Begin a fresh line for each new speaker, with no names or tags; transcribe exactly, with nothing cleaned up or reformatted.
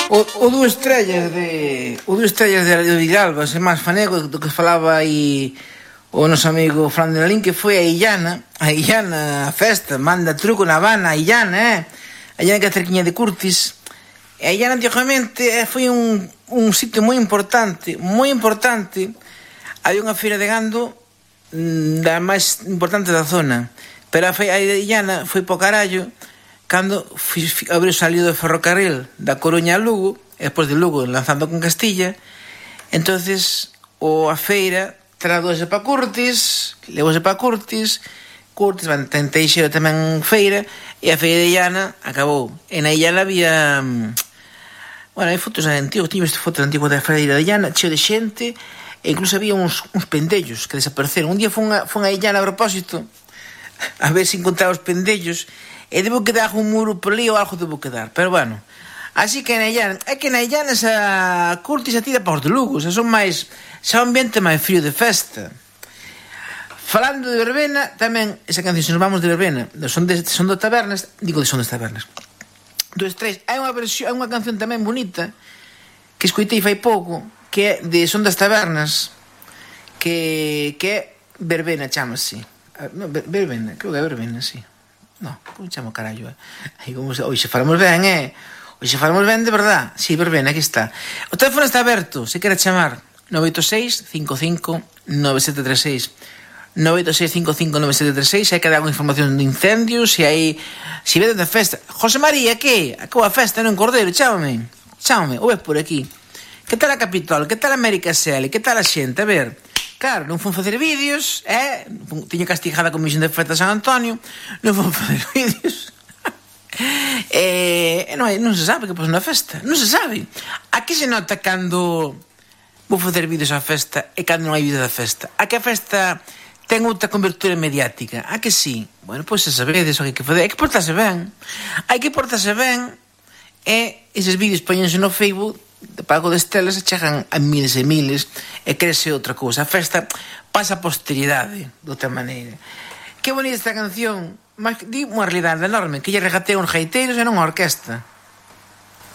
O, o dúas estrellas de o dúas estrellas de Radio Villalba, se máis fanego do que falaba aí o noso amigo Fran de Lalín, que foi a Illana, a Illana, a festa, manda truco na Habana, a Illana, eh? A Illana que é cerquiña de Curtis. E a Illana antigamente foi un, un sitio moi importante, moi importante. Había unha feira de gando da máis importante da zona, pero a feira de Illana foi po carallo cando abriu salido do ferrocarril da Coruña a Lugo, e despois de Lugo lanzando con Castilla. Entonces o a feira tradouse para Curtis, levouse para Curtis, Curtis van tenteixeiro tamén feira, e a feira de Illana acabou. E na Illana había, bueno, hai fotos antigos, tiño este fotos antigos da feira de Illana, cheo de xente, e incluso había uns, uns pendellos que desapareceron. Un día fun a, fun a Illana a propósito a ver se encontraba os pendellos, e debo quedar un muro por ali ou algo debo quedar, pero bueno. Así que na Illana, é que na Illana esa Curtis a tira para os de Lugo, xa son máis, xa un ambiente máis frío de festa. Falando de verbena, tamén esa canción, se nos vamos de verbena, son de son de tabernas, digo de son das tabernas. Dos tres, hai unha versión, hai unha canción tamén bonita que escoitei fai pouco, que é de son das tabernas, que que é verbena, chámase. No, verbena, creo que é verbena, sí. No, como chamo carallo, eh? Aí como se, oxe, falamos ben, eh? Oxe, falamos ben de verdad. Si, sí, verbena, aquí está. O teléfono está aberto, se quere chamar nove oito seis, cinco cinco, nove sete tres seis nove oito seis, cinco cinco, nove sete tres seis. Se hai que dar alguna información de incendios, se hai, se vedes de festa. José María, que? Acabou a festa no Cordeiro, chámame. Chámame, ou é por aquí. Que tal a Capitol? Que tal a América Sele? Que tal a xente? A ver... Claro, non fun facer vídeos, eh? Tiño castigada a Comisión de Festa San Antonio, non fun facer vídeos. e non, non se sabe que pasa na festa, non se sabe. A que se nota cando vou facer vídeos á festa e cando non hai vídeos da festa? A que a festa ten outra cobertura mediática? A que sí? Bueno, pois se sabedes o que hai que fazer, hai que portarse ben. Hai que portarse ben e eses vídeos poñense no Facebook de pago de estelas e chegan a miles e miles e crese outra cousa. A festa pasa a posteridade de outra maneira. Que bonita esta canción, mas di unha realidade enorme, que lle regatea uns gaiteiros e non unha orquesta.